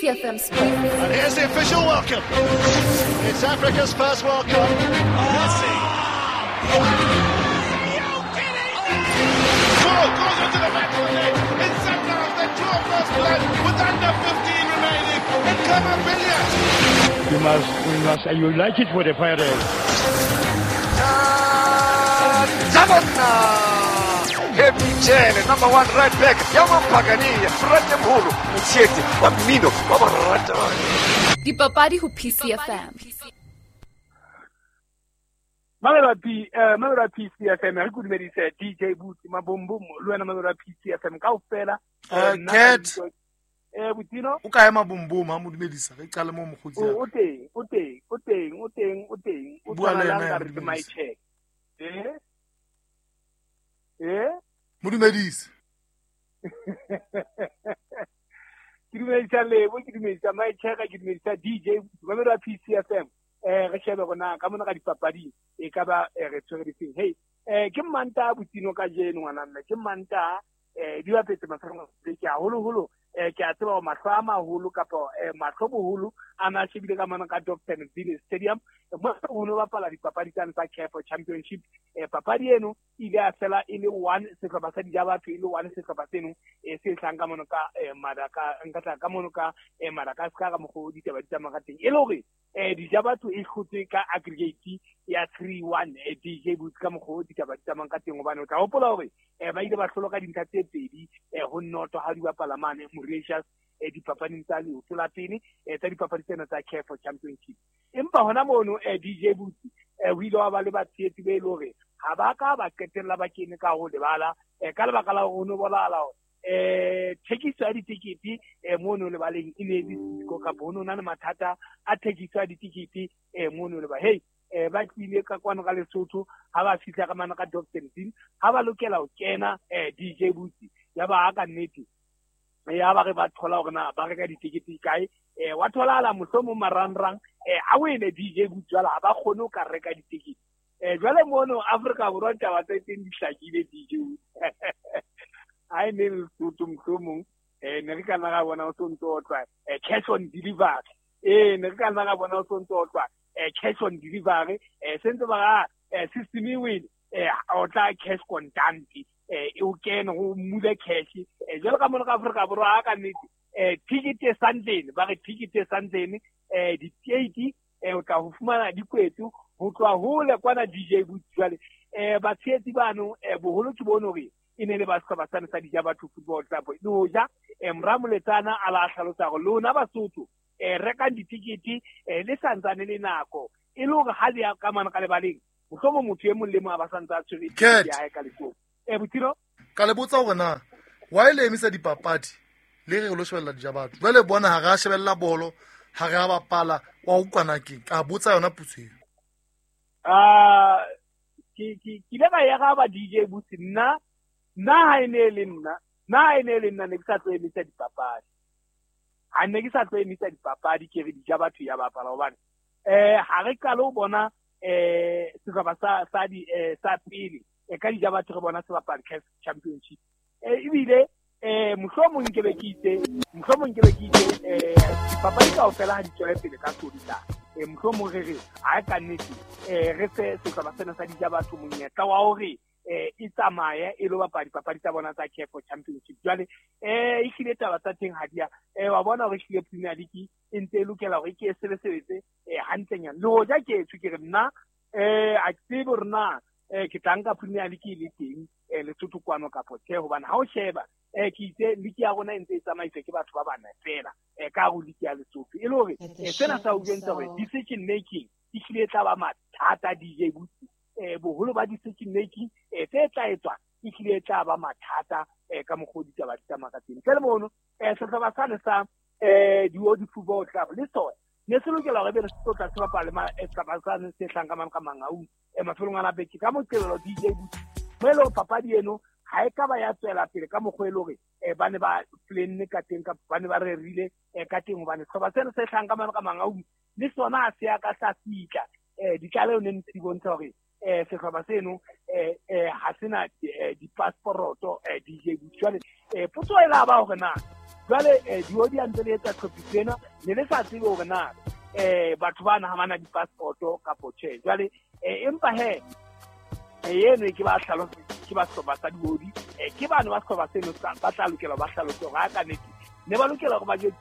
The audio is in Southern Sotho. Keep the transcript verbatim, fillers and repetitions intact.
P C F M Sports. And here's the official welcome. It's Africa's first World Cup. Messi. Are you kidding me? Ball goes into the back of the net. It's Sundowns that draw first blood with under fifteen remaining. And Khama Billiat. You must, you must, you like it for the Pirates. Heavy number one right back, Yamampagani, Fratemholo, Mtsete, wa mmino, wa barata. Dipapadi ho P C F M. Mamela P, eh mamela P C F M, re go dumedise D J Boots, Mabombom, le wena mamela P C F M kaofela. Eh Cat. Eh Butino, o kae Mabombom ha mo dumedisa, re qale mo mogotsi. O teng, o teng, o teng, o teng, o teng. O Bua le tshwana yena, ka re my check. Eh? Eh? Mo dumedise. Ke dumedisa Lebo, ke dumedisa my check, ke dumedisa D J, mamela P C F M. Eh re shebe rona ka mona ka dipapading e ka ba re tshwere difeng. Hey, eh ke Manta Butino ka jeno ngwana mme, ke Manta eh di bapetse mafelong a beke haholoholo. Eh ke a tseba hore mahlo a maholo kapa eh mahlo boholo a na shebile ka mona ka Dobsonville Stadium mo ho no bapala dipapadi tsane tsa C A F Championship. Eh papadi eno ile a fela e le one sehlopha sa Dijabatho e le one sehlopha seno e se hlang ka mona ka Madaka nka tla ka mona ka Madagascar ka mokgo ditaba di tsamaya ka teng e le hore eh Dijabatho e hlotse ka aggregate ya three one eh D J Boots ka mokgo ditaba di tsamaya ka teng hobane o tla hopola hore eh ba ile ba hlolwa ka dintlha tse pedi eh ho noto ha di bapala mane Mauritius eh dipapading tsa leoto la pele eh tsa dipapadi tsena tsa C A F Championship. Empa hona mono eh D J Boots eh o ile wa ba le batshehetsi be e le hore ha ba ka ba qetella ba kene ka ho lebala eh ka lebaka la hore ho no bonahala hore eh thekiso ya ditekete eh mono lebaleng e ne e le siko kapa ho no na le mathata a thekiso ya ditekete eh mono leba. Hey eh ba tlile ka kwano ka Lesotho ha ba fihla ka mana ka Dobsonville ha ba lokela ho kena eh D J Boots ya ba ka nnete ya ba re ba thola hore na ba reka ditekete kae eh wa tholahala mohlomong marangrang eh a wene D J Boots jwale ha ba kgone ho ka reka ditekete eh jwale mono Afrika Borwa taba tse teng di hlakile D J Boots. Ha e ne Lesotho mohlomong eh ne re ka nna ra bona o sontso o tlwa eh cash on delivery eh ne re ka nna ra bona o sontso o tlwa eh cash on delivery eh sentse ba ra eh system e wele eh o tla cash contant eh o kene ho mule cash eh jwale ka mona ka Afrika Borwa ha ka nnete eh ticket e santlene ba re ticket e santlene eh di-eighty eh o tla ho fumana dikwetso ho tloha hole kwana D J Boots jwale eh batshehetsi bano eh boholo ke bone hore e ne le ba sehlopha sane sa Dijabatho Football Club le hoja eh Mramoletsana a la hlalosa hore lona Basotho eh rekang ditikete eh le santsane le nako e le hore ha le ya ka mane ka lebaleng mohlomong motho e mong le mong a ba santse a tshwere Cat. ya hae ka letsoho. Eh Butiro Ka le botsa hore na why le emisa dipapadi le re lo shebella Dijabatho jwale bona ha re a shebella bolo ha re a bapala wa utlwana ke ka botsa yona potso eo. Ah ke ke ke ile ka ya ga ba D J Boots nna nna ha e ne le nna nna ha e ne le nna ne ke sa tlo emisa dipapadi ha ne ke sa tlo emisa dipapadi ke re Dijabatho ya bapala hobane eh ha re qale ho bona eh sehlopha sa sa di eh sa pele e ka Dijabatho re bona se bapala C A F Championship eh ebile eh mohlomong ke be ke itse mohlomong ke be ke itse eh dipapadi kaofela ha di tswele pele ka Sontaha eh mohlomong re re ha ka nnete eh re fe sehlopha sena sa Dijabatho monyetla wa hore eh e tsamaye e lo bapala dipapadi tsa bona tsa C A F Championship jwale eh e hlile taba tsa teng ha di a eh wa bona hore ehlile Premier League e ntse e lokela hore ke e sebesebetse eh hantlenyana le hoja ke etswe ke re nna eh a ke tsebe hore na eh ke tla nka Premier League e le teng eh Lesotho kwano kapa tjhe hobane ha o sheba eh ke itse league ya rona e ntse e tsamaiswa ke batho ba bana fela eh ka hare ho league ya Lesotho e le hore At the eh sena sa o show jwetsa hore so decision making e hlile e tla ba mathata D J Boots eh boholo ba decision making eh tse tla etswa e hlile e tla ba mathata eh ka mokgwa o ditaba di tsamaya ka teng. Ntle le mono eh sehlopha sane sa eh Diodi Football Club le sona ne se lokela hore ebe le se tla se bapala ma sehlopha sane se hlang ka mane ka Mangaung eh mafelong a beke ka Moqebelo D J Boots mo e le hore papadi eno ha e ka ba ya tswela pele ka mokgwa e le hore eh ba ne ba planne ka teng kapa ba ne ba rerile eh ka teng hobane sehlopha sena se hlang ka mane ka Mangaung le sona ha se ya ka sa fihla eh ditlaleho ne ntse di bontsha hore eh sehlopha seno eh eh ha sena di-passport eh D J Boots jwale eh potso e la ba hore na Jwale eh, diodi ha ntse le etsa tlhophiso ena, ne le sa tsebe hore na eh batho bana ha bana di-passport-o kapo tjhe. Jwale eh, empa he eh, eno ke ba hlalose ke ba sehlopha sa diodi, eh, ke bane ba sehlopha seno ba tla lokela ba hlalose hore ha ka nnete ne ba lokela hore ba jwetse.